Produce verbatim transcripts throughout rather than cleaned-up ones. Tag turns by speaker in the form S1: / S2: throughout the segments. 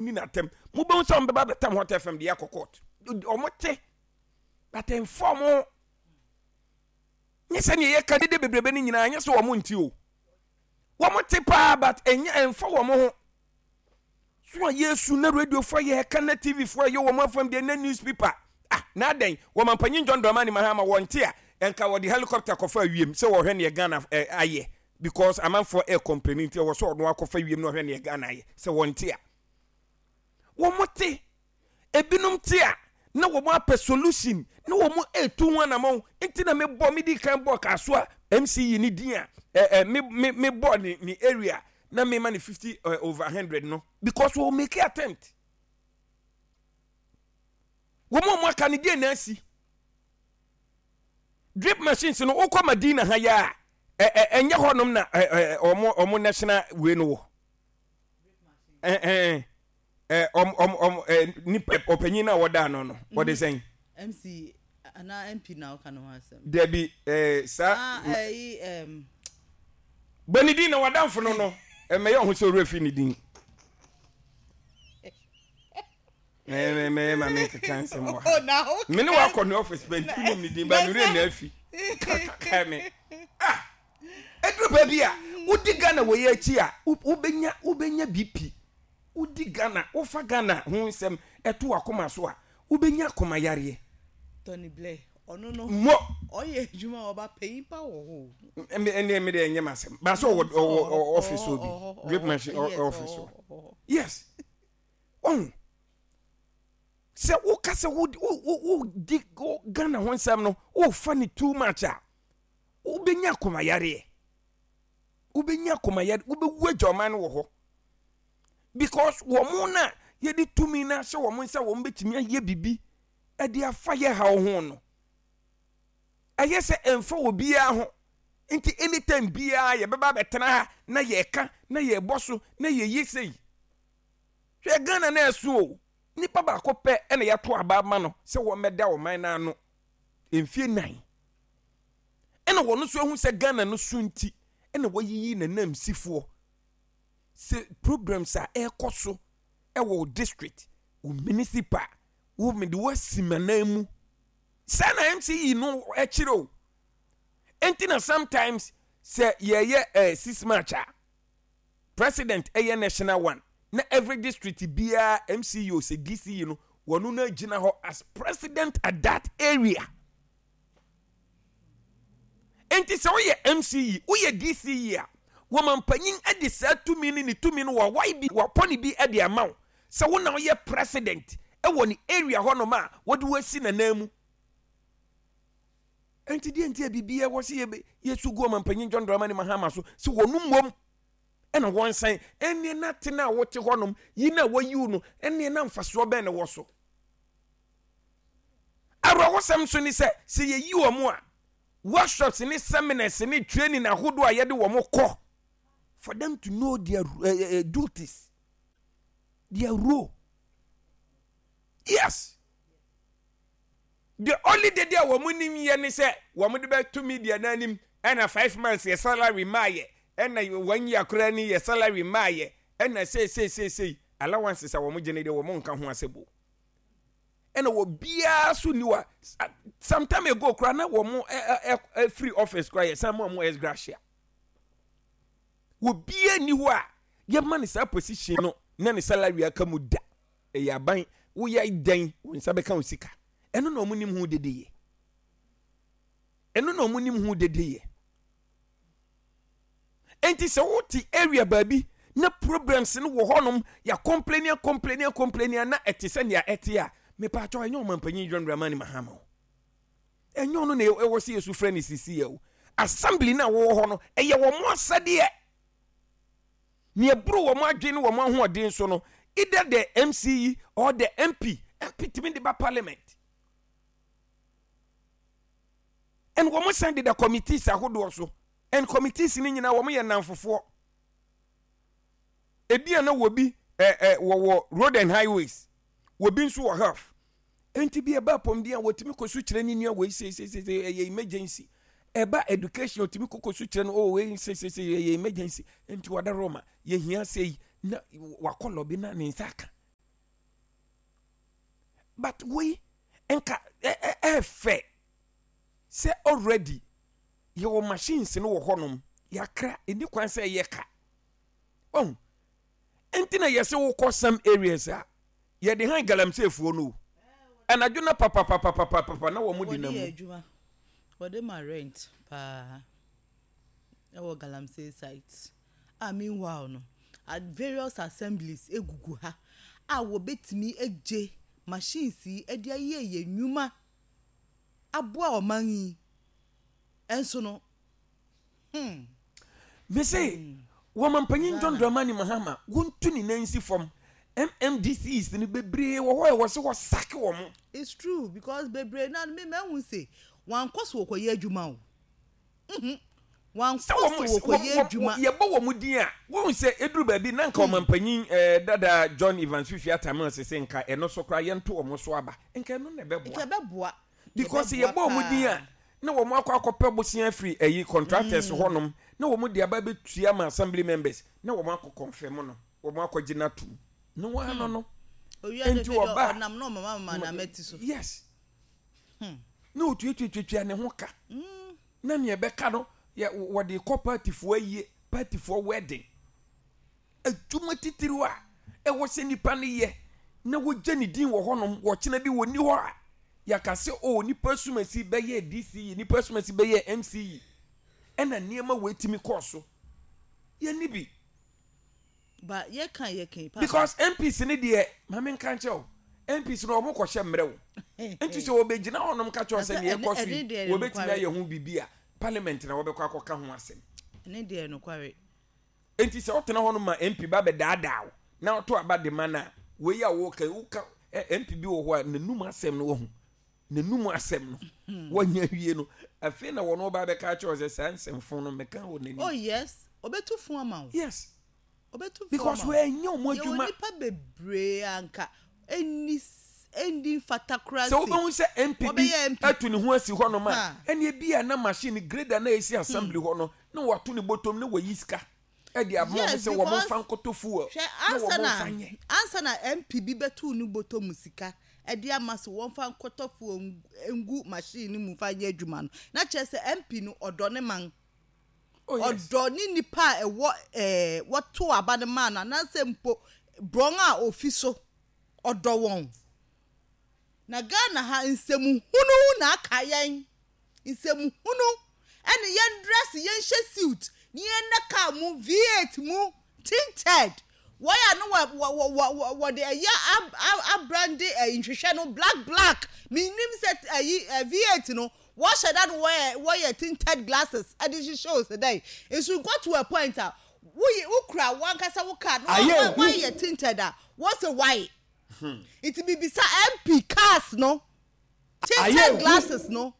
S1: ni n'atɛm. Mobɛhu sɛ ɔmo bɛba bɛtam Hot F M de akɔ court. Ɔmo te, but ɛnfa ɔmo nyɛ sɛ nea yɛka dede bebrebe no nyinaa nyɛ sɛ wɔn nti o. Wɔn te paa, but ɛnyɛ ɛnfa wɔn ho so a yɛsu na radio fo yɛ ɛka na T V fo yɛ wɔn afam deɛ na newspaper. Ah, na adɛn wɔn mpanyin John Dramani Mahama wɔn te a ɛnka wɔde helicopter kɔfa wiem sɛ wɔhwɛ neɛ Ghana ɛ ayɛ, because amanfoɔ ɛ complain nti ɛwɔ sɛ ɔno akɔfa wiem na ɔhwɛ neɛ Ghana ayɛ sɛ wɔn te a. Wɔn te, ebinom te a na wɔn apɛ solution na wɔn etu ho anamɔn. Nti na me bɔ me di kan bɔ Kasoa M C E ne din a ɛ ɛ me me me bɔ ne ne area na me ma ne fifty uh, over hundred no, because wɔn make attempt. Wɔn a wɔn aka ne deɛ na asi drip machines no wokɔ Madina ha yɛ a ɛ ɛ ɛnyɛ hɔnom na ɛ ɛ ɔmo ɔmo national wei no wɔ ɛ ɛ ɛ ɔmo ɔmo ɔmo ɛ nipa ɔpanyin na wɔda ano no wɔde sɛn?
S2: M C anaa M P na ɔka ne ho asɛm?
S1: Dabi, ɛɛ saa.
S2: Ah, ɛyi ɛm.
S1: Bɔ ne din na wadamfo no no ɛmɛyɛ ɔho sɛ owurɛ fi ne din mɛmɛ mɛyɛ ma me nkeka nsɛm wɔ ha.
S2: Oh, na wo
S1: me ne wakɔ ne office bɛ nti nim ne din ba ne werɛ na afi kaka me. Ah, ɛduru baabi a wodi Ghana wɔ yɛ akyi a wo- wobɛnya wobɛnya B P. Wodi Ghana, wofa Ghana ho nsɛm ɛto wakoma so a, wobɛnya akoma yareɛ.
S2: Tony Blair, ɔno no
S1: mmɔ
S2: ɔyɛ adwuma a ɔba panyin pa wɔ hɔ o.
S1: Ɛnɛ me deɛ ɛnyɛ m'asɛm ba sɛ ɔwɔ ɔwɔ ɔwɔ office hɔ bi drip machine ɔ- office hɔ. Yes, ɔhu sɛ woka sɛ wodi wo- wo- wodi wo- Ghana ho nsɛm no, wofa ne too much a, wobɛnya akomayareɛ, wobɛnya akomayareɛ, wobɛwu agya ɔman no wɔ hɔ, because wɔn mo na yɛde tumi no ahyɛ wɔn nsa, wɔn bɛtumi ayɛ biribi ɛde afa yɛ haw ho no, ɛyɛ sɛ ɛmfa wɔ biara ho. Nti anytime biara yɛbɛba abɛtena ha na yɛka na yɛbɔ so na yɛyi sei. Hwɛ, Ghana na ɛso o, nipa baako pɛ ɛna yɛato aba ama no sɛ wɔmmɛda ɔman no ano mfie nan, ɛna wɔn nso ahu sɛ Ghana no so nti ɛna wɔyiyi n'anam sifoɔ sɛ programs a ɛrekɔ so ɛwɔ wo district, wo municipal, wo mede woasi m'anan mu saa na M C E no ɛkyerɛ o. Nti na sometimes sɛ yɛyɛ eh, six March a, president ɛyɛ national one na every district biara M C E o sɛ D C E no, wɔn no gyina hɔ as president at that area. Nti sɛ woyɛ M C E, woyɛ D C E a, wɔn mpanyin de saa tumi ne ne tumi no wɔawae bi wɔapɔ ne bi de ama wo sɛ wo na woyɛ president ɛwɔ ne area hɔnom a wɔde wo asi n'anan mu. Nti deɛ nti a biribiara wɔ sɛ yɛbɛ yɛsu gu ɔmampanyin John Dramani Mahama so sɛ wɔn mmom ɛna wɔn nsan ɛnneɛ na tena a wɔte hɔnom yi na wɔyiw no, ɛnneɛ na mfasoɔ bɛn na wɔ so? Awerɛhosɛm nso ne sɛ sɛ yɛyi wɔn a, workshops ne seminars ne training ahodoɔ a yɛde wɔn kɔ for them to know their uh, uh, duties, their role. Yes, the only day a wɔn nim yɛ ne sɛ wɔn de bɛto media n'anim ɛna five months yɛ salary maa yɛ, ɛna one year koraa ni yɛ salary maa yɛ, ɛna sei sei sei sei allowances a wɔn gye ne deɛ wɔn nka ho asɛm o. Ɛna wɔ biara so ni wa some time ago koraa na wɔn ɛ ɛ ɛ free office koraa yɛ san mu a wɔn ex gratia wɔ biara ni hɔ a yɛma ne saa position no na ne salary aka mu da. Ɛyɛ aban woyɛ dɛn wɔn nsa bɛka wo sika. Ɛno na wɔn nim ho dede yɛ, ɛno na wɔn nim ho dede yɛ. Nti sɛ wote area baabi na problems no wɔ hɔnom, yɛ complain, complain, complain na ɛte sɛ nea ɛte a, mepatwɔ, ɛnyɛ ɔmampanyin John Dramani Mahama o, ɛnyɛ ɔno na ɛwɔ sɛ yɛsu frɛ ne sisi yɛ o. Assembly no a wɔwɔ hɔ no, ɛyɛ wɔn asɛdeɛ nea ɛboro wɔn adwene ne wɔn ahoɔden so no, either the M C E or the M P. M P tumi de ba parliament and wɔn san deda committees ahodoɔ so, and committees no nyinaa wɔn yɛ nnamfofoɔ. Ebi a na wɔ bi ɛ ɛ wɔwɔ road and highways, wɔ bi nso wɔ health. Nti bi ɛba apɔmuden a, wɔtumi kɔ so kyerɛ ne nua wei seesese ɛyɛ emergency. Ɛba education, wɔtumi kɔ so kyerɛ no, oh, wei seesese ɛyɛ emergency, nti wɔda roma yɛhia sɛ yi na wakɔ lobby na ne nsa aka. But wei nka ɛɛfɛ sɛ already yɛwɔ machines no wɔ hɔnom, yɛakra ɛni kwan sɛ ɛyɛ ka ɔn. Nti na yɛsɛ wokɔ some areas a yɛde han galamseyfoɔ no o, anadwo na papapapapapa na wɔn de
S2: Wɔde
S1: nam
S2: yɛ
S1: mu.
S2: Adwuma wɔde ma rent paa ɛwɔ galamsey site a, meanwhile no, at various assemblies egugu ha a wɔbɛtumi agye machines yi de ayɛ yɛ nnwuma aboa ɔman yi ɛnso no hmm.
S1: Mese wɔmampanyin John Dramani Mahama wɔntu ne nan si fam. M M D Cs no bebree wɔ hɔ a ɛwɔ sɛ wɔsake wɔ mo.
S2: It's true, because bebree na me mɛhu se wankɔ so wɔkɔyɛ adwuma o. Mhm. Wankɔ
S1: Sɛ
S2: so
S1: wɔn
S2: wɔkɔyɛ adwuma.
S1: Yɛbɔ wɔn din a, wɔn sɛ eduru baabi na nka ɔmampanyin ɛɛ dada John Evans Fifi Atta Mills sɛ nka ɛno so koraa yɛnto wɔn so aba, nka ɛno na
S2: nka
S1: ɛbɛboa.
S2: Ɛbɛboa.
S1: Because
S2: ɛbɛboa
S1: yɛbɔ wɔn din
S2: paa.
S1: A na wɔn akɔ akɔpɛ bosia firi ɛyi contractors hɔnom na wɔn de aba bɛtua ma assembly members na wɔn akɔ confirm no, wɔn akɔ gyina tum na wɔn ano no.
S2: Owia
S1: Nti
S2: de fɛ
S1: ɔba-
S2: ɔnam na ɔmama mama na mɛti so.
S1: Yes, na otuatuatuatua ne ho ka na nea ɛbɛka no yɛ wɔde kɔ partyfoɔ ayie, partyfoɔ wedding. Adwuma titiriw a ɛwɔ sɛ nipa no yɛ na wɔgya ne din wɔ hɔnom, wɔkyena bi wɔnni hɔ a yɛaka sɛ o, nipa sumasi bɛyɛ D C E, nipa sumasi bɛyɛ M C E, ɛna nneɛma wɔ etimi kɔɔ so yɛnni bi.
S2: Ba yɛka yɛka yi, papa.
S1: Because M Ps ne deɛ, maame, nka nkyɛn o, M Ps no wɔn kɔhyɛ mmerɛ o, nti sɛ wɔbɛgyina hɔnom ka kyerɛ sɛ nea ɛkɔ so
S2: ɛne
S1: yi
S2: deɛ
S1: wɔbɛtumi
S2: nokware.
S1: Ayɛ ho biribi a parliament na wɔbɛkɔ akɔka ho asɛm.
S2: Ɛne deɛ nokware.
S1: Nti sɛ wotena hɔnom ma M P ba bɛdaadaa wo na woto aba de ma no a, wei a wɔka woka ɛ, M P bi wɔ hɔ a n'anum asɛm no wɔ ho, n'anum asɛm no wɔnya wie no, afei na wɔn ba bɛka kyerɛ wo sɛ saa nsɛmfo no mɛka wɔ n'anim.
S2: Oh yes, ɔbɛtu fun ama wo.
S1: Yes.
S2: Ɔbɛtu fun
S1: Because
S2: ama wo.
S1: wɔanyɛ wɔn
S2: Yɛwɔ
S1: adwuma.
S2: Nipa bebree anka ɛnni ɛnni mfata koraa.
S1: Sɛ wobɛhu sɛ M P bi
S2: Wɔbɛyɛ M P.
S1: Atu ne ho asi hɔnom a
S2: Ha.
S1: ɛne bi a na machine grader na ɛsi assembly hɔ no na wato ne bɔtɔm na wayi sika ɛde ama wɔn
S2: Yes,
S1: sɛ wɔn
S2: because
S1: mfa nkɔtɔ fuel
S2: hwɛ
S1: na
S2: ansa
S1: wɔn
S2: na
S1: mfa nyɛ.
S2: Ansa na M P bi bɛtu ne bɔtɔ mu sika ɛde ama so wɔmfa nkɔtɔ fuel ngu machine no mu fa nyɛ adwuma no, na kyerɛ sɛ M P no ɔdɔ ne man.
S1: Oh yes.
S2: Ɔdɔ ne nipa a ɛwɔ ɛɛ wɔto aba no maa no anaasɛ mpo borɔn a ofi so ɔdɔ wɔn. Na Ghana ha, nsɛmuhunu na aka yɛn, nsɛmuhunu ɛne yɛn dress, yɛn hyɛ suit ne yɛn nna car mu V eight mu tinted, wɔyɛ no wɔ wɔ wɔ wɔ wɔde ɛyɛ ab ab abrande ɛyi nhwehwɛ no black black. Minim sɛ ɛyi ɛ V eight no wɔhyɛ da no wɔyɛ wɔyɛ tinted glasses ɛde hyehyɛ o sɛ dɛ nso got to a point a woyɛ wokura wankasa wo car no
S1: Ayɛ
S2: wɔn wɔyɛ tinted a wɔsɛ why. Nti bibisa M P cars no tinted glasses no,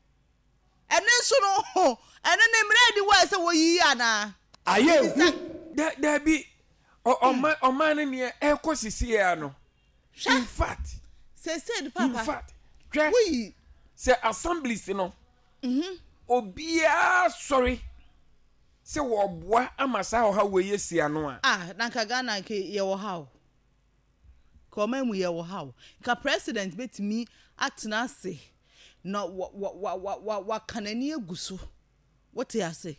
S2: ɛne nso no ɛno ne mmerɛ di wɔ sɛ wɔyiyi anaa?
S1: Ayɛ hu. Da dabi, ɔman ɔman no neɛ ɛkɔ sisi ya no, in fact
S2: sese ni
S1: in
S2: papa
S1: fact, hwɛ,
S2: woyi
S1: sɛ assemblies no obiara sɔre sɛ wɔboa ama saa ɔha wei esi ano a,
S2: ah, na nka Ghana nke yɛwɔ ha o, ka ɔman mu yɛwɔ ha o, nka president betumi atena ase na wa wa wa wa wa waka n'ani agu so. Wote ase,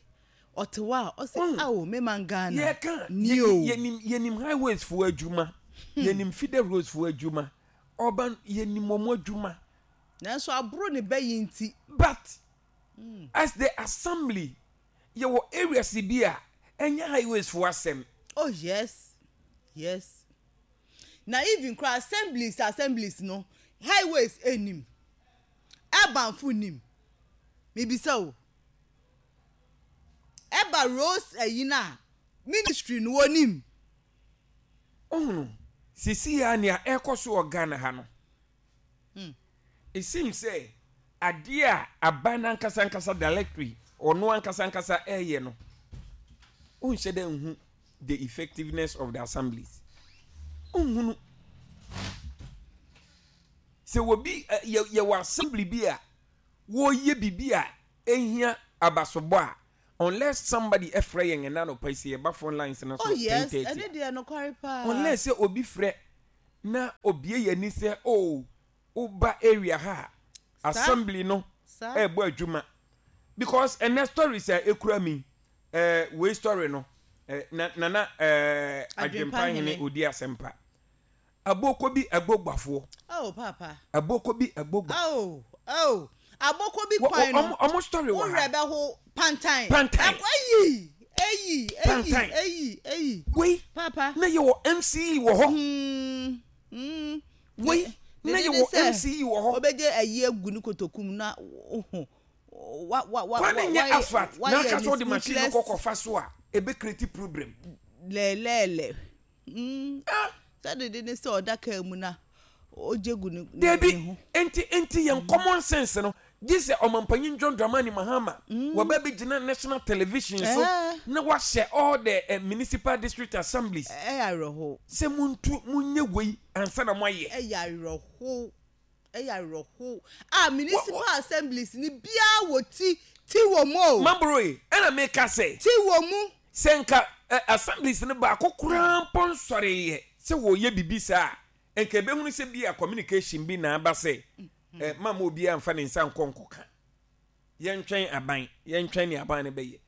S2: ɔte hɔ a ɔsɛ
S1: Mm.
S2: awo mema Ghana
S1: yɛka
S2: ni o.
S1: yɛnim yɛnim highways foɔ adwuma, yɛnim feeder roads foɔ adwuma, ɔban yɛnim wɔn adwuma.
S2: Nanso aboro ne bɛyi nti.
S1: But as the assembly, yɛwɔ areas bi a ɛnyɛ highways foɔ asɛm.
S2: Oh yes yes na even kora assemblies assemblies no, highways enim, urbanfo nim mibisa o, ɛba roads ɛyi na ministry no wɔnim.
S1: Ohunu sisi ya nea ɛkɔ so wɔ Ghana ha no, it seems sɛ adeɛ a aban n'ankasa ankasa directly ɔno ankasa ankasa ɛyɛ no, wonhyɛ dɛ nhu the effectiveness of the assemblies. Nhunu sɛ wɔbi ɛ, yɛ yɛwɔ assembly bi a wɔreyɛ biribi a ehia abasobɔ a, unless somebody ɛfrɛ yɛn ɛna anɔpa yi sɛ yɛba phone lines no so
S2: Oh yes.
S1: ten thirty.
S2: Ɛne deɛ nokware paa.
S1: Unless sɛ obi frɛ na obie yɛn ani sɛ, oh, Woba area ha a, assembly no ɛɛbɔ adwuma because ɛnɛ stories a ekura mi, ɛɛ wei story no, ɛɛ na Nana ɛɛ Adwempa Hene odi asɛmpa. Aboko bi agbogbafoɔ.
S2: Oh papa.
S1: Aboko bi agbogba.
S2: Oh oh. Aboko bi kwan no.
S1: Ɔmo story wɔ ha.
S2: Wúrẹ̀ bɛ ho pantan.
S1: Pantan.
S2: Eyi eyi eyi eyi eyi.
S1: Wei.
S2: Papa.
S1: Na yɛ wɔ M C E wɔ hɔ.
S2: Mm, mm.
S1: Wei na yɛ wɔ M C E wɔ hɔ.
S2: Obɛgye ayi egu ne kotoku mu na wa wa wa.
S1: Kwan ne nyɛ asphalt na aka sɛ ɔde machine no kɔkɔ fa so a, ebe create problem.
S2: Lɛɛlɛɛlɛ. Mm. Sɛ dede ne sɛ ɔda kaa mu na ɔgye gu ne
S1: Debi
S2: ho.
S1: nti nti yɛn common sense no gye sɛ Ɔmampanyin John Dramani Mahama wɔbɛ bi gyina national television so
S2: Eh.
S1: na wahyɛ all the uh, municipal district assemblies
S2: Ɛyɛ awerɛho.
S1: sɛ muntu munyɛ wei ansa na moayɛ.
S2: Ɛyɛ awerɛho, ɛyɛ awerɛho a municipal assemblies ni biara wɔ ti ti wɔ mu o.
S1: Mamboro yi ɛna meka sɛ
S2: Ti wɔ mu.
S1: sɛ nka uh, assemblies no baako koraa mpo nsɔreyɛ sɛ wɔyɛ bibi saa a, nka ebɛhunu sɛ bi a communication bi na aba sɛ eh, mama obiara mfa ne nsa nkɔ nkɔka, yɛntwɛn aban, yɛntwɛn ne aban no bɛyɛ,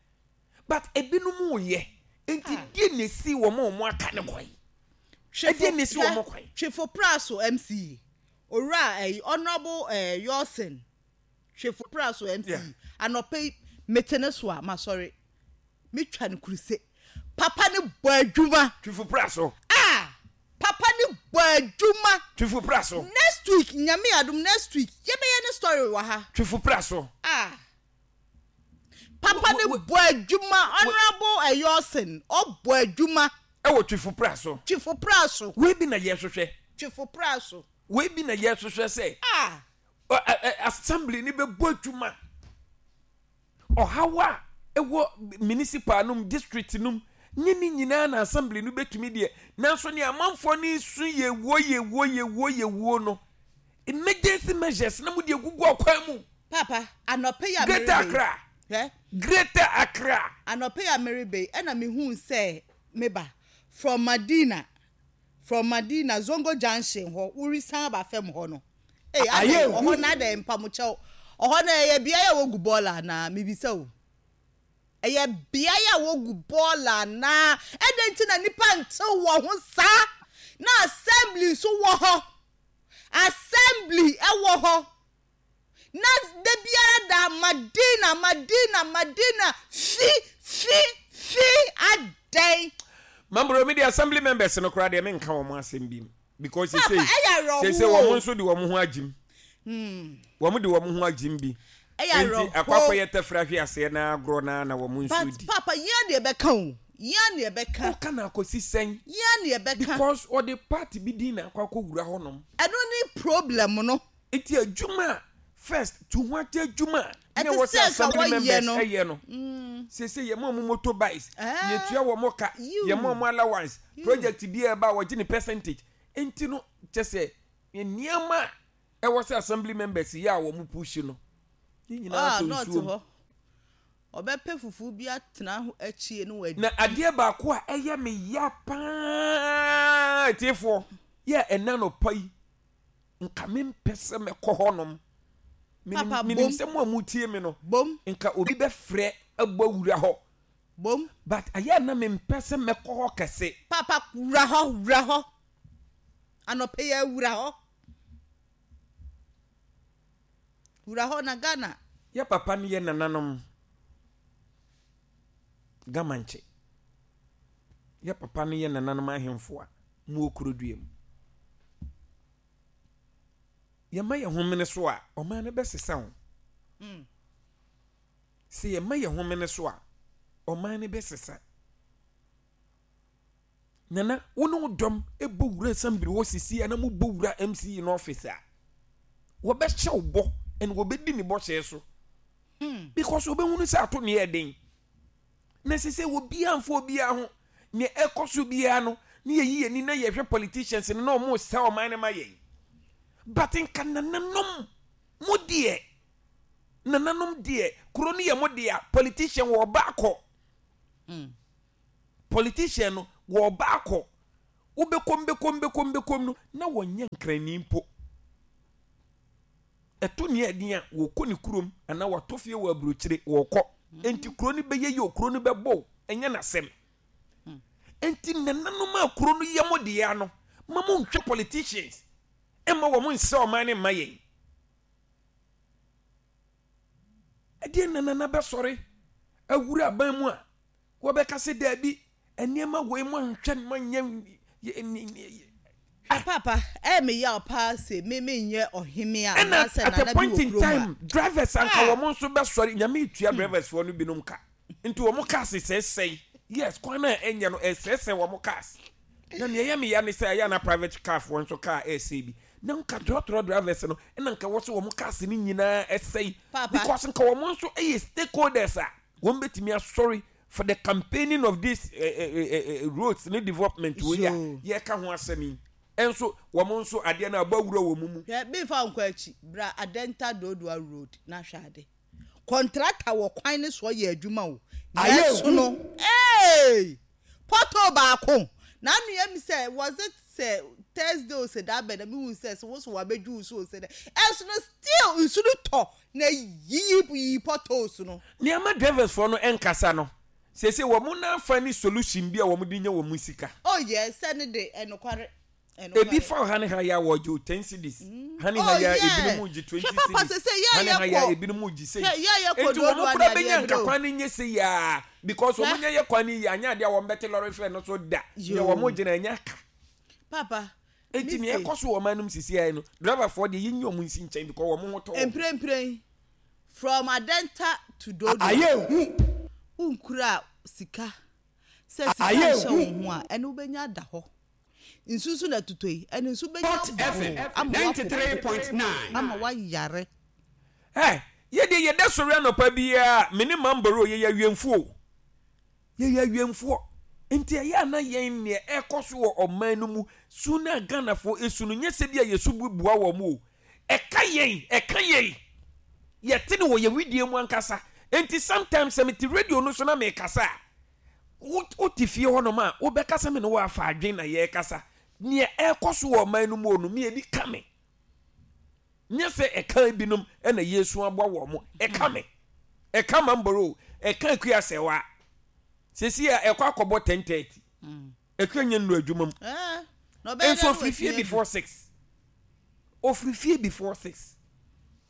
S1: but ebinom yɛ nti die na esi wɔn a wɔn aka ne kwan. Ɛdeɛ na esi wɔn kwan?
S2: Twifo Praso M C E, owura ɛyi, Honourable ɛɛ Yɔsin Twifo Praso M C E,
S1: Yeah.
S2: anɔpɛ yi mete ne so a, ma sɔre metwa ne kuruse. Papa ne bɔ adwuma.
S1: Twifo Praso.
S2: A papa ne bɔ adwuma.
S1: Twifo Praso.
S2: Next week, Nyame adum, next week yɛbɛyɛ ne story wɔ ha.
S1: Twifo Praso.
S2: A papa ne
S1: Wo- wo-
S2: bɔ adwuma. Honourable ɛyɔsin ɔbɔ adwuma.
S1: Ɛwɔ Twifo Praso.
S2: Twifo Praso.
S1: Wei bi na yɛhwehwɛ.
S2: Twifo Praso.
S1: Wei bi na yɛhwehwɛ sɛ
S2: a
S1: ɔ- ɛ- ɛ- assembly ni bɛbɔ adwuma. Ɔhaw a ɛwɔ municipal nom, district nom, nye ne nyinaa na assembly no bɛtumi deɛ, nanso ne amanfoɔ no su yɛwuo, yɛwuo, yɛwuo, yɛwuo no, emergency measures na mo de egugu ɔkwan mu.
S2: Papa, anɔpɛ yi a
S1: Greater
S2: merebe yi,
S1: Accra.
S2: Hwɛ.
S1: Greater Accra.
S2: Anɔpɛ yi a merebe yi, ɛna mehu sɛ meba from Madina from Madina Zongo Junction hɔ, worisan aba fam hɔ no ee,
S1: Ayɛ
S2: adɛn
S1: hu.
S2: ɔhɔ na adɛn mpamokyɛw, ɔhɔ no ɛyɛ beaeɛ a wogu bɔɔla anaa? Mibisa o, ɛyɛ beaeɛ a wogu bɔɔla anaa? Ɛdɛn nti na nipa ntew wɔ ho saa na assembly nso wɔ hɔ, assembly ɛwɔ hɔ na da biara da Madina, Madina, Madina, fi fi fi, adɛn?
S1: Mambro, mi de assembly members no koraa deɛ, menka wɔn asɛm bi mu because
S2: Papa,
S1: sese
S2: ɛyɛ awerɛhoɔ
S1: sese
S2: o.
S1: wɔn nso de wɔn ho agyim, wɔn de wɔn ho agyim bi.
S2: Ɛyɛ
S1: Nti
S2: awerɛhoɔ.
S1: akɔ akɔyɛ tɛfra hwe aseɛ na agorɔ na na wɔn nso
S2: But
S1: di.
S2: papa, yɛn deɛ bɛka o, yɛn deɛ bɛka.
S1: Ɔka na akɔsi sɛn?
S2: Yɛn deɛ bɛka.
S1: Because ɔde party bi din na akɔ akɔwura hɔnom.
S2: Ɛno ne problem no.
S1: Nti adwuma a first tu ho ate adwuma a na
S2: Ɛte
S1: ɛwɔ
S2: sɛ
S1: sɛ
S2: nka
S1: assembly
S2: wɔyɛ
S1: members
S2: no.
S1: ɛyɛ no, sese yɛ mo ɔmo motorbikes,
S2: Eh.
S1: yɛtua wɔn ka,
S2: You.
S1: yɛ mo ɔmo allowance, project bi a ɛba a wɔgye ne percentage, nti no kyɛ sɛ nneɛma a ɛwɔ sɛ assembly members yɛ a wɔn push no ne nyinaa
S2: Ah,
S1: tɔ
S2: nɔɔte
S1: nsuo mu.
S2: hɔ ɔbɛpɛ fufu bi atena ho akyie no wadi.
S1: Na adeɛ baako a ɛyɛ me ya paa, tiefoɔ, yɛ ɛna nɔpa yi nka mempɛ sɛ mɛkɔ hɔnom. Menim
S2: Papa,
S1: menim
S2: bom.
S1: sɛ mo a motie me no,
S2: Bom.
S1: nka obi bɛfrɛ abɔ wura hɔ,
S2: Bom.
S1: but ayɛ a na mempɛ sɛ mɛkɔ hɔ kɛse.
S2: Papa, wura hɔ, wura hɔ anɔpɛ yɛ, wura hɔ, wura hɔ na Ghana.
S1: Yɛ papa no yɛ nananom Gamankye, yɛ papa no yɛ nananom ahemfo a mowɔ kurodua mu, yɛma yɛ homene so a, ɔman no bɛsesa wo. Sɛ yɛma yɛ homene so a, ɔman no bɛsesa. Nana, wo ne wo dɔm bɔ wura assembly hɔ sisi a na mobɔ wura M C E no office a, wɔbɛhyɛ wo bɔ ɛna wɔbɛdi ne bɔhyɛ so because wɔbɛhunu sɛ ato ne yɛ den na sɛ sɛ obiara mfa obiara ho. Nea ɛkɔ so biara no ne yɛyi yɛni na yɛhwɛ politicians no na ɔmo sɛ ɔman no ma yɛn, but nka nananom mo deɛ, nananom deɛ, kuro no yɛ mo deɛ. Politician wɔ ɔba akɔ, politician no wɔ ɔba akɔ, wobɛkɔm bɛkɔm bɛkɔm bɛkɔm no na wɔnyɛ nkrani mpo. Ɛto nea ɛden a wɔkɔ ne kurom anaa wɔatɔ fie wɔ aburokyire wɔkɔ. Enti kuro no bɛyɛ yie o, kuro no bɛbɔ o, ɛnyɛ n'asɛm. Enti nananom a kuro no yɛ mo dea no, ma monhwɛ politicians mma wɔn nsɛ ɔman no mma yɛn. Ɛdeɛ na nana bɛsɔre awura aban mu a wɔbɛka sɛ daabi nneɛma wei mo anhwɛ no manyɛ.
S2: Papa, ɛyɛ me yaw paa se me menyɛ ɔhemea
S1: Ɛna
S2: anaasɛ
S1: at a
S2: nana bi
S1: point
S2: wɔ
S1: in
S2: kurom a.
S1: time drivers anka
S2: Ah!
S1: wɔn nso bɛsɔre nyame tua drivers foɔ no binom ka nti wɔn cars sɛesɛe yes kwan a ɛnyɛ no ɛsɛesɛe wɔn cars na nea ɛyɛ me ya ne sɛ ɛyɛ na private car foɔ nso car ɛsɛe bi na nka trɔtrɔ drivers no ɛna nka wɔ sɛ wɔn cars no nyinaa ɛsɛe
S2: Papa.
S1: because nka wɔn nso ɛyɛ stakeholders a wɔn bɛtumi asɔre for the campaigning of this eh, eh, eh, eh, roads ne development wei a
S2: Yo.
S1: yɛka ho asɛm yi ɛnso wɔn nso adeɛ no abɔ awura wɔn mu.
S2: Hwɛ, memfa wo nkɔ akyi, bra Adenta Dodowa Road na hwɛ ade. Kɔntrata wɔ kwan no soɔ yɛ adwuma o.
S3: Ayɛ
S2: Nanso
S3: hu.
S2: no, hey! Pɔtɔ baako. Na anua mi sɛ, was it sɛ Thursday o sɛ da bɛn na mehu sɛ sɛ wo so wabɛdwu wo so o sɛ dɛ. Ɛnso no still nsu no tɔ na yiyi yiyi potholes no.
S1: Nneɛma drivers foɔ no nkasa no sese wɔn n'afa ne solution bi a wɔn de nya wɔn sika.
S2: Oh yes, sɛ ne de ɛnokware.
S1: Ebi fa ha ne ha ya wɔgye o ten cedis ha ne ha
S2: Oh,
S1: ya
S2: yeah.
S1: ebinom gye twenty
S2: Hwɛ papa
S1: cedis
S2: sɛ sɛ yɛ
S1: ha ne
S2: yɛ
S1: ha ya
S2: kɔ.
S1: ebinom gye sei
S2: Hwɛ yɛ yɛ kɔ
S1: nti wɔn
S2: dodoɔ
S1: kura
S2: ne
S1: benya
S2: adeɛ
S1: nka
S2: bi
S1: kwan ne nye se yaa because wɔn
S2: Hwɛ.
S1: nyɛ yɛ kwan ne yie anya adeɛ a wɔn bɛte lɔre fɛ no so da
S2: Yoo.
S1: nea wɔn gyina anya ka
S2: Papa.
S1: eti
S2: me
S1: nea
S2: se,
S1: ɛkɔ so wɔ ɔman no mu sisi ayɛ no driver foɔ deɛ yɛnyi wɔn nsi nkyɛn because wɔn ho tɔ wɔn.
S2: Mprempren from Adenta to Dodowa.
S3: Ayɛ hu.
S2: Wonkura sika sɛ sika
S3: Ayɛ
S2: nhyɛ
S3: hu.
S2: wo ho a ɛne wobɛnya ada hɔ. Nsu nso na ɛtotɔ yi ɛne nso bɛnya
S3: Hot F M
S2: boo ama
S3: ninety-three point nine.
S2: ama woayare.
S1: Ɛ yɛde yɛda sɔre anɔpa biara me ne mamboro yɛyɛ awiemfoɔ yɛyɛ awiemfoɔ nti ɛyɛ ana yɛn nea ɛkɔ so wɔ ɔman no mu su na Ghanafoɔ esu no nyɛ sɛ bi a yɛsu bu bua wɔn o ɛka yɛn ɛka yɛn yɛte no wɔ yɛn widie mu ankasa nti sometimes sɛ mete radio no so na mekasa a wote fie hɔnom a wobɛkasa me ne wo afa adwen na yɛrekasa nea ɛkɔ so wɔ ɔman no mu no me ebi ka me nyɛ sɛ ɛka binom ɛna yɛsu aboa wɔ mo ɛka me ɛka mamboro ɛka Akua Sɛwa sɛsi a ɛkɔ akɔbɔ ten thirty Akua nyɛ nnuro adwuma mu
S2: Eh, na ɔbɛyɛ
S1: nso
S2: dɛ na
S1: ofiri fie
S2: watumi adu.
S1: before six ofiri fie before six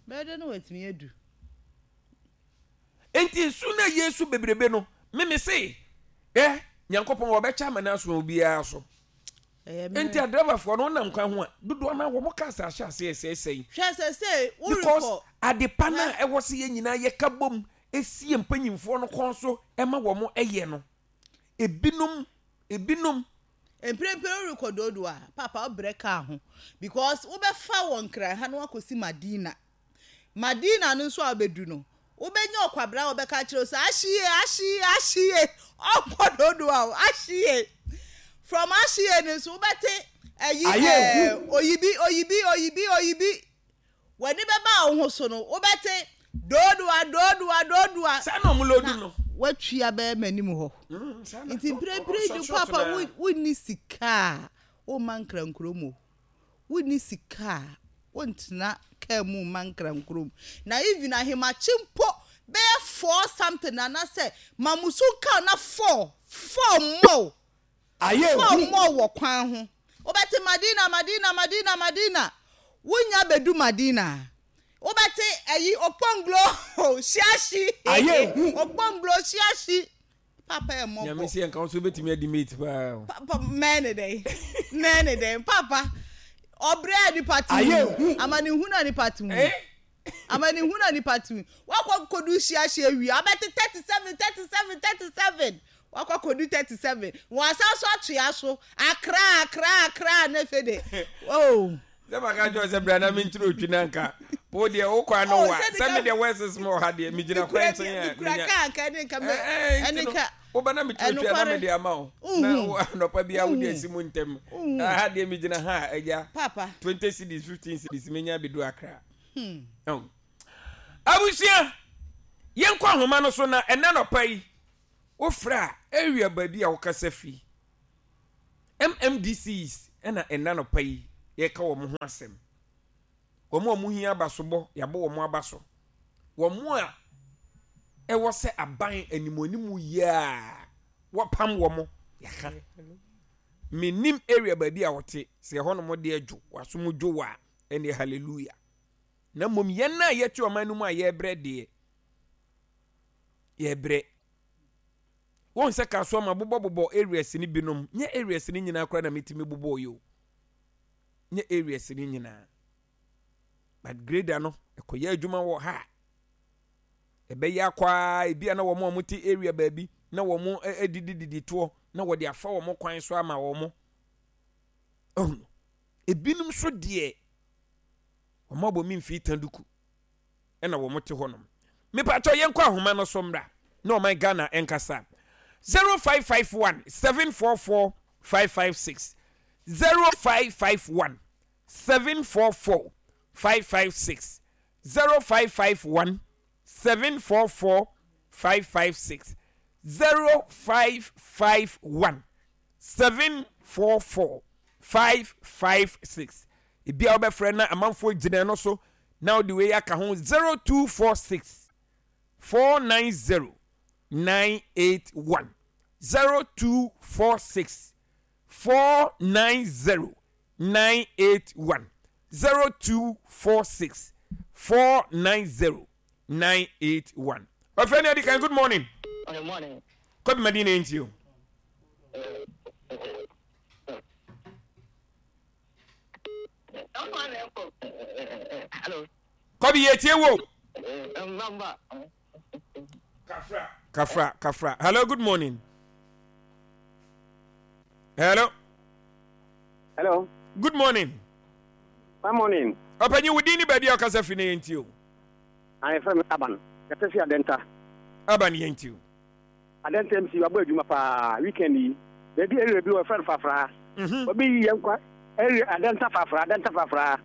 S2: Bɛyɛ dɛ na watumi adu.
S1: nti nsu na yesu bebrebe no mímí se ɛ Nyankopɔn wɔbɛkyɛ ama no aso obiara so
S2: Ɛyɛ
S1: nti
S2: mmerɛ.
S1: adriverfoɔ no wonam kwan ho a dodoɔ no a wɔn cars ahyɛ ase ɛsɛesɛe
S2: Hwɛ sɛ sɛ
S1: because
S2: worekɔ
S1: adepa no a ɛwɔ sɛ yɛn nyinaa yɛka bom esie mpanyinfoɔ no kɔn so ɛma wɔn ɛyɛ no ebinom ebinom
S2: mprempren worekɔ Dodowa a papa wobrɛ kaa ho because wobɛfa wɔ Nkran ha na wakɔsi Madina. Madina no nso a wobɛdu no wobɛnya ɔkwabra a wɔbɛka kyerɛ wo sɛ ahyie ahyie ahyie ɔnkɔ Dodowa o ahyie from ahyie no nso wobɛte ɛyi
S3: Ayɛ
S2: ɛɛ
S3: hu.
S2: oyibi oyibi oyibi oyibi w'ani bɛba wo ho so no wobɛte Dodowa Dodowa Dodowa
S1: saa na ɔmo load no
S2: watwi abɛyɛ m'anim hɔ
S1: Mm, saa na-
S2: nti
S1: ɔ- ɔ-
S2: mprempren
S1: short
S2: de
S1: short
S2: papa
S1: na-
S2: wo- wonni sika a womma Nkrankurom o wonni sika a wontena kaa mu mma Nkrankurom na even ahemakye mpo bɛyɛ four something anaasɛ mamusu kaa na four four more
S3: Ayɛ
S2: four
S3: hu.
S2: more wɔ kwan ho wobɛte Madina Madina Madina Madina wonya bɛdu Madina wobɛte ɛyi Okponglo hyiahyi
S3: Ayɛ hu.
S2: Okponglo hyiahyi papa yɛ mmɔbɔ
S1: Nyame sɛ yɛnka wo so wobɛtumi adi mate paa o.
S2: papa mɛne dɛn mɛne dɛn papa ɔbrɛ a nipa te
S3: Ayɛ
S2: mu
S3: hu.
S2: amanehunu a nipa te mu
S1: Eh?
S2: amanehunu a nipa te mu wakɔ kodu hyiahyia wie abɛte thirty seven thirty seven thirty seven wakɔ kodu thirty seven wɔn asan so atoa so Akra Akra Akra ne fe de oh
S1: sɛ maka kyerɛ sɛ bra na menkyerɛ otwi na nka wo deɛ wokɔ ano
S2: Oh,
S1: wa
S2: sɛ
S1: sɛ
S2: nika-
S1: medeɛ wɔɛses ma ɔha deɛ megyina kwan nkyɛn a
S2: mikura
S1: menya-
S2: kaa nka ne nka mɛ
S1: Eh, eh, nti
S2: ɛne
S1: no,
S2: ka
S1: woba na mekyerɛ otwi a na
S2: ɛnokware.
S1: mede ama wo
S2: Uhu.
S1: na wo anɔpa biara wode
S2: Uhu.
S1: asi mu ntɛm
S2: Uhu.
S1: ha deɛ megyina ha a agya
S2: papa
S1: twenty cedis fifteen cedis menya bɛdu Akra. Ɛho. Abusua yɛnkɔ ahoma no so na ɛnɛ nɔpa yi wofrɛ a area baabi a wokasa fi M M D Cs ɛna ɛnɛ nɔpa yi yɛka wɔn ho asɛm. Wɔn a wɔn hia abasobɔ, yɛabɔ wɔn aba so. Wɔn a ɛwɔ sɛ aban animuanimu yie a wɔpam wɔn, yɛaka. Menim area baabi a wɔte, sɛ ɛhɔnom deɛ dwo, wasom dwo wɔ a, ɛneɛ hallelujah. Na mmom yɛn a yɛte ɔman no mu a yɛrebrɛ deɛ, yɛrebrɛ. Wɔn sɛ kasoa ma bobɔbobɔ areas no binom, nyɛ areas no nyinaa koraa na metumi bobɔ yi o. Nyɛ areas no nyinaa. But grader no, ɛkɔyɛ adwuma wɔ ha. Ɛbɛyɛ akɔ a ebi a na wɔn a wɔte area baabi na wɔn adidididi toɔ na wɔde afa wɔn kwan so ama wɔn. Ɔhunu. Ebinom nso deɛ, wɔn abɔ mi mfii tanduku ɛna wɔn te hɔnom. Mipatɔ yɛn kɔ ahoma no so mmra na ɔman Ghana nkasa. zero five five one seven four four five five six zero five five one seven four four five five six zero five five one seven four four five five six zero five five one seven four four five five six. Ebi a wobɛfrɛ na amanfoɔ gyina no so na wode wei aka ho zero two four six four nine zero nine eight one zero two four six four nine zero nine eight one zero two four six four nine zero nine eight one. Ɔfɛ ni adi kan, good morning.
S4: Good morning.
S1: Kɔbi Madina nti o.
S4: Hello.
S1: Kɔbi yɛ tie wo.
S4: Mbamba.
S1: Kafra. Kafra, kafra. Hello, good morning. Hello.
S5: Hello.
S1: Good morning.
S5: Good morning.
S1: Ɔpanyin, wo din ni baabi a ɔkasa firi na yɛn ti o.
S5: Ayɛfɛ mi Aban. Yɛsɛ fi Adenta.
S1: Aban yɛn ti o.
S5: Adenta M C wabɔ adwuma paa weekend yi. Baabi area bi wɔ fɛn Fafra. Wɔbɛyi yɛn kwa area Adenta Fafra, Adenta Fafra.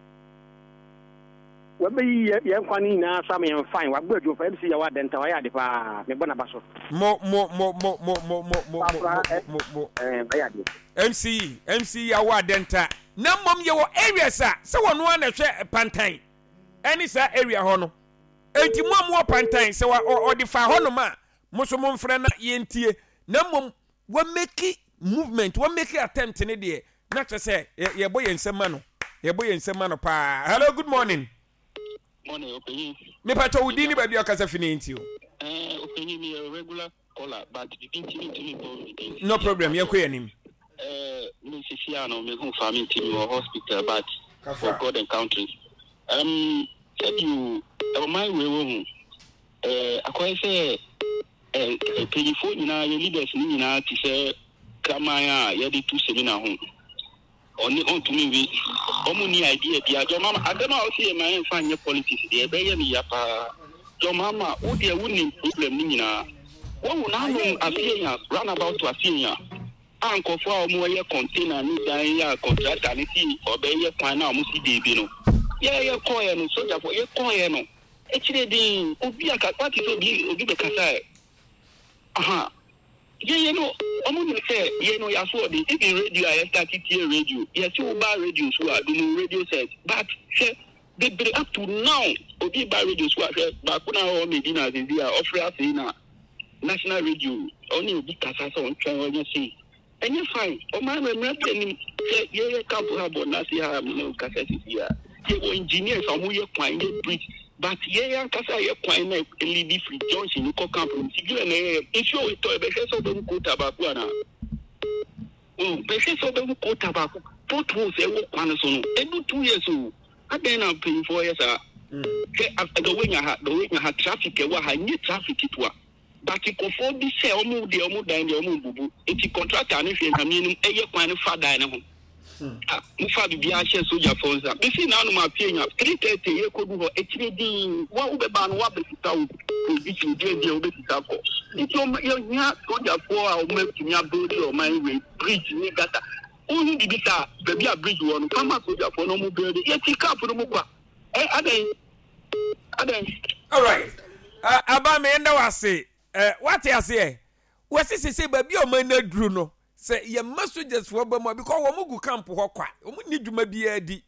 S5: Wɔbɛyi yɛn kwa ne nyinaa so ama yɛn fine. Wabɔ adwuma paa M C yɛ wɔ Adenta, wayɛ ade paa. Mebɔ n'aba so.
S1: Mo mo mo mo mo mo mo mo mo mo mo.
S5: Ɛɛ wayɛ ade.
S1: M C M C yɛ wɔ Adenta. Na mmom yɛ wɔ areas a sɛ wɔn ano na ɛhwɛ Pantan ɛne saa area hɔ no. Enti mo a mo wɔ Pantan sɛ ɔde fa hɔ nom a mo nso mo mfrɛ na yɛntie. Na mmom wɔ make movement, wɔ make attempt ne deɛ na kyerɛ sɛ yɛbɔ yɛn nsam ma no. Yɛbɔ yɛn nsam ma no paa. Hello, good morning.
S4: Morning, Opanyin.
S1: Mepa kyɛ wo din ne baabi a ɔkasa fi ne nti o.
S4: Eh, Opanyin, mi yɛ regular caller, but bibi nti mi ntumi bɔ mi din.
S1: No problem, yɛn kɔ yɛn anim.
S4: Eh, mi sisi ano mi hu fa mi nti mi wɔ hospital, but for God and country. Um, sɛbi o, ɔman wei wɔ hu. Eh, akɔyɛ sɛ eh, mpanyinfoɔ nyinaa yɛ leaders ne nyinaa te sɛ kraman a yɛde tu semina ho. Ɔne ɔntumi nwi. Ɔmo ni idea bia. John Mahama, asɛm a ɔsi yɛ ma yɛnfa nyɛ politics deɛ ɛbɛyɛ me ya paa. John Mahama, wo deɛ wonim problem ne nyinaa. Wɔhu n'anom Afienya, roundabout to Afienya. A nkɔfoɔ a ɔmo yɛ container ne dan yɛ a contractor ne si ɔbɛyɛ kwan na ɔmo si beebi no. Yɛ yɛ kɔɔyɛ no, sogyafoɔ yɛ kɔɔyɛ no. Ekyire din, obi aka, wate sɛ obi obi bɛkasa ɛ. Aha. Yɛyɛ no, ɔmo nim sɛ yɛ no yɛaso ɔde, even radio a yɛ start tie radio, yɛsi wo ba radio so a, dunu radio set, but hwɛ, bebree up to now, obi ba radio so a, hwɛ, baako na ɔwɔ Medina Azizi a, ɔfrɛ afei na national radio, ɔne obi kasa sɛ ɔntwɛn ɔnyɛ sei. Ɛnyɛ fine, ɔman no mmerɛ bi anim, sɛ yɛyɛ camp ha bɔ n'ase ha, me ne wo kasa sisi a, yɛwɔ engineers a ɔmo yɛ kwan, yɛ bridge, but yɛn ankasa yɛ kwan na lead firi junction kɔ camp no, civilian na yɛyɛ, nsuo tɔ ɛbɛhwɛ sɛ ɔbɛhu kota baako anaa? Oh, bɛhwɛ sɛ ɔbɛhu kota baako, potholes ɛwɔ kwan no so no, ɛdu two years o, adɛn na mpanyinfoɔ yɛ saa? Hwɛ, dɔwɛnya ha, dɔwɛnya ha, traffic ɛwɔ ha, nye traffic ketewa. But nkurɔfoɔ bi sɛ ɔmo deɛ ɔmo dan deɛ ɔmo mbubu, nti contractor no hwɛ nyame anim ɛyɛ kwan no fa dan no ho. Ah, mo fa biribiara hyɛ sogyafoɔ nsa. Bisi na anom afie nya three thirty yɛ kodu hɔ akyire dinn wa wobɛba no wabɛsisa wo provision deɛ deɛ wobɛsisa kɔ. Nti ɔmo yɛhia sogyafoɔ a ɔmo atumi abuild ɔman wei bridge ne gutter. Wohu biribi saa baabi a bridge wɔ no fa ma sogyafoɔ na ɔmo build. Yɛte camp no mu kwa. Ɛ adɛn? Adɛn?
S1: All right. Uh, aba me enda wase. Uh, wate aseɛ? Wɔsi sese baabi a ɔman no aduru no sɛ yɛma sogyasfoɔ ba mu a because wɔn gu camp hɔ kwa, wɔn ni dwuma biara di.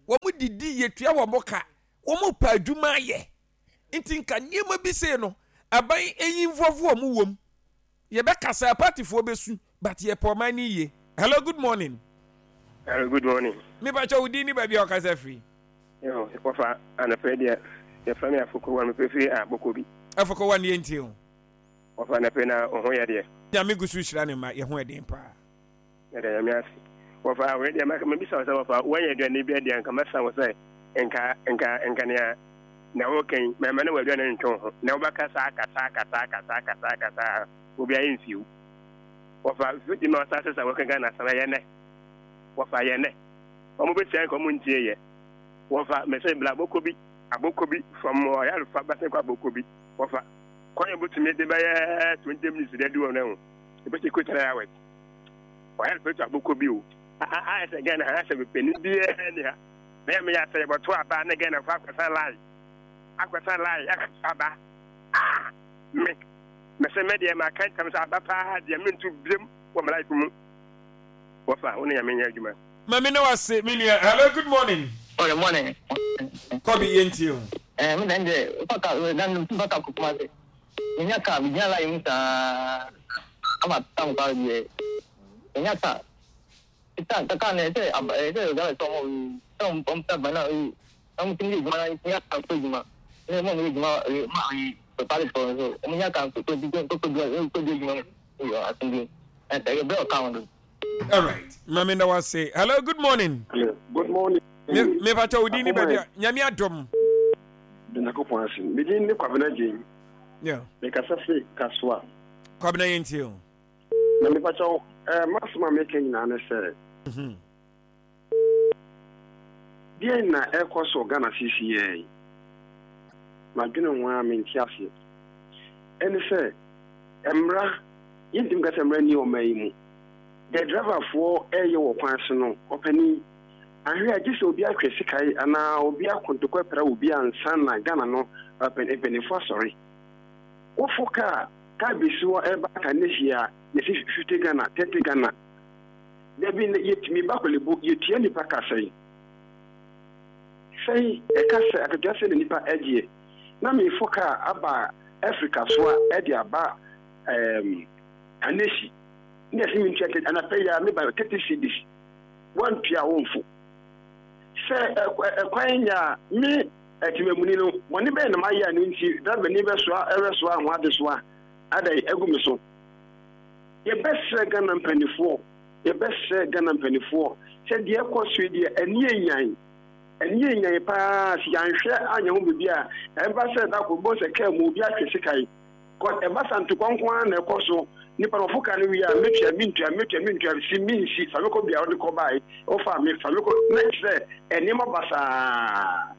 S1: Wɔn didi yɛtua wɔn ka, wɔn pa adwuma ayɛ. Nti nka nneɛma bi sei no, aban eyi nfɔfo wɔn wom. Yɛbɛkasa partyfoɔ bɛsu, but yɛpɛ ɔman no yie. Hello, good morning.
S6: Hello, good morning.
S1: Mepakyɛ wo din ne baabi a ɔkasa firi.
S6: Yo, wɔfa anɔpɛ deɛ yɛfrɛ me Afoko wa mepɛ firi abɔkɔ bi.
S1: Afoko wa ne yɛntie o.
S6: Wɔfa anɔpɛ na wo ho yɛ deɛ.
S1: Nyame gu so hyira ne ma yɛ ho ɛden paa.
S6: Yɛda Nyame ase. Wɔfa wei deɛ maka mabisa wo sɛ wɔfa woanya aduane bi adeɛ nka mɛsa wo sɛ nka nka nka nea na woka yi mɛma ne w'aduane ntwe wo ho na wobɛka saa kasa kasa kasa kasa kasa obi ayɛ mfiw. Wɔfa fiti ma ɔsa sɛ sɛ wɔka Ghana asɛm ɛyɛ nɛ. Wɔfa yɛ nɛ. Wɔn bɛtia nka wɔn ntie yɛ. Wɔfa mɛsɛ bla abɔkɔ bi abɔkɔ bi from ɔyarefa bɛsɛ kɔ abɔkɔ bi. Wɔfa kwan yɛ bɛtumi de bɛyɛ twenty minutes de adi wɔn ho. Ebɛsɛ kɔ three hours. Ɔyarefa to abɔkɔ bi o. Ayɛ sɛ Ghana ha sɛ panin biara ni ha. Na yɛ meyɛ sɛ yɛbɛto aba ne Ghana fo akɔsa line. Akɔsa line akɔto aba. Ah! Me mɛsɛ mɛ deɛ maka ntam sɛ aba paa deɛ mento biam wɔ me life mu. Wɔfa wo ne Nyame nyɛ adwuma.
S1: Mami na wase me nua. Hello, good morning.
S7: Morning, morning.
S1: Kɔbi yɛntie o.
S7: Eh, me dan de, fa ka dan fa ka kokuma se. Nya ka bi gyina line mu saa. Ama tam ka bi. Nya ka. Ta ta ka ne se ab eh se ga so mo so mo pom ta bana e. Am tin di juma nya ka ko juma. Ne mo mo juma ma e prepare for so. Mo nya ka ko ko ko ko ko juma. Yo asin Eh ta yo ka on.
S1: All right. Mami na wase. Hello, good morning.
S8: Hello. Good morning.
S1: Me me pacha odin ni baabi a Nyame adom.
S8: Nyankopɔn ase. Me din ne Kwabena Jane.
S1: Yeah.
S8: Me kasa firi Kasoa.
S1: Kwabena yɛntie o.
S8: Na me pacha eh masoma me ka nyinaa ne sɛ.
S1: Mhm.
S8: Deɛ na ɛkɔ so Ghana sisi yɛ. Madwene ho a mente aseɛ. Ɛne sɛ mmra yɛntim ka sɛ mmra ni ɔman yi mu. The driver for ɛyɛ wɔ kwan so no ɔpani ahwɛ a gye sɛ obi ahwɛ sikae anaa obi akontokɔ pɛrɛ obi ansa na Ghana no mpanimfoɔ asɔre. Wofo kaa kaa bɛsi hɔ ɛba ka ne hyia yɛsi fifty Ghana thirty Ghana. Dabi yɛtumi ba Korle-Bu yɛtua nipa ka sɛn sɛn ɛka sɛ akatua sɛ na nipa agyeɛ na mefo kaa aba Africa so a ɛde aba ɛɛm Kaneshie. Ne yɛsi mi ntua anapɛ yi a meba thirty cedis wantua wo mfo sɛ ɛkwan nya me ɛtìmɛmuni no bɔne bɛyɛ na mayɛ a no nti driver ni bɛsoa ɛbɛsoa ho adesoa ada agu me so. Yɛbɛsrɛ Ghana mpanimfoɔ yɛbɛsrɛ Ghana mpanimfoɔ sɛ deɛ ɛkɔ so yi deɛ ani enyan ani enyan paa si yɛanhwɛ anya ho biribi a ɛba sɛ dako bɔ sɛ kaa mu obi ahwɛ sika yi kɔ ɛba sa ntokwa nko ara na ɛkɔ so. Nipa no ɔfo ka no wie a metua mentua metua mentua si mensi fa me kɔ bia wode kɔ bae wofa me fa me kɔ na kyerɛ nneɛma basaa.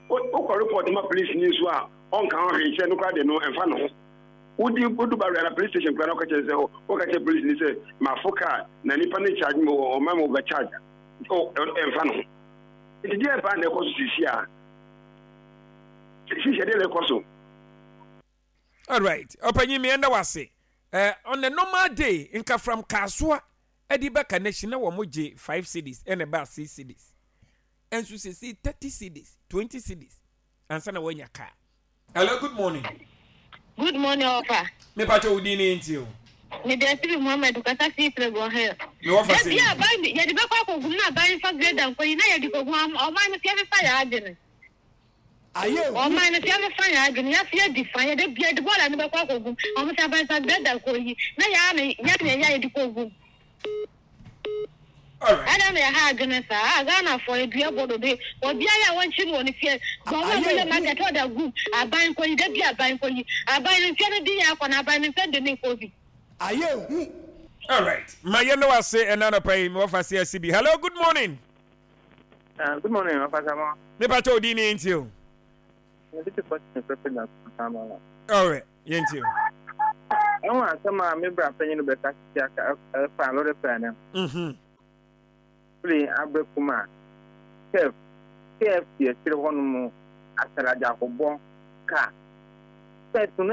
S8: Wokɔ report ma police ni nso a ɔnka ho hwee kyerɛ no koraa de no ɛmfa ne ho. Wodi wodu bawura na police station koraa na ɔka kyerɛ sɛ wɔka kyerɛ police ni sɛ mafo kaa na nipa no charge me ɔma me overcharge ɛmfa ne ho. Nti deɛ paa na ɛkɔ so sisi a sisi deɛ na ɛkɔ so.
S1: All right. Ɔpanyin mi ɛnda wase. Uh, on a normal day, nka from Kasoa, ɛde ba connection na wɔn gye five cedis ɛna ɛba six cedis. Ɛnso sisi thirty cedis, twenty cedis. Ansa na wɔnya car. Hello, good morning.
S9: Good morning, Ofa.
S1: Me pacho odi ni nti o.
S9: Me de Sibi Muhammad kasa fi Legon Hill.
S1: Me wɔfa
S9: se. Ebi aban yɛ de bɛkɔ akɔgum na aban fa grade nkɔ yi na yɛ de kɔgum ɔman no fia fa yɛ adwene. Ɔman no fia fa yɛ adwene yɛ fia di fa yɛ de bia de bɔɔla no bɛkɔ akɔgum ɔmo sɛ aban fa grade nkɔ yi na yɛ ana yɛ na yɛ de kɔgum. Ada na yɛ ha adwene saa Ghana fo edua bɔdɔ de obi ayɛ a wɔnkyi no wɔ ne fie wɔn a wɔyɛ market ɔda gum aban nkɔ yi de bia aban nkɔ yi aban no fia no di yɛ akɔ na aban no fia de ne nkɔ bi.
S3: Ayɛ hu.
S1: All right. Ma yɛn no ase ɛna anɔpa yi me wɔfa se asi bi. Hello, good morning.
S10: Uh, good morning, Ofasa.
S1: Me pacho odi ni nti o.
S10: Me de question pepe na kama.
S1: All right, yɛnti o.
S10: Ɛwɔ asɛm a me bra panyin no bɛka sisi aka ɛfa lɔre fɛ no.
S1: Mhm.
S10: Firi abɛkuma K F C akyire hɔ nom asaragya akɔbɔ kaa. Sɛ tunu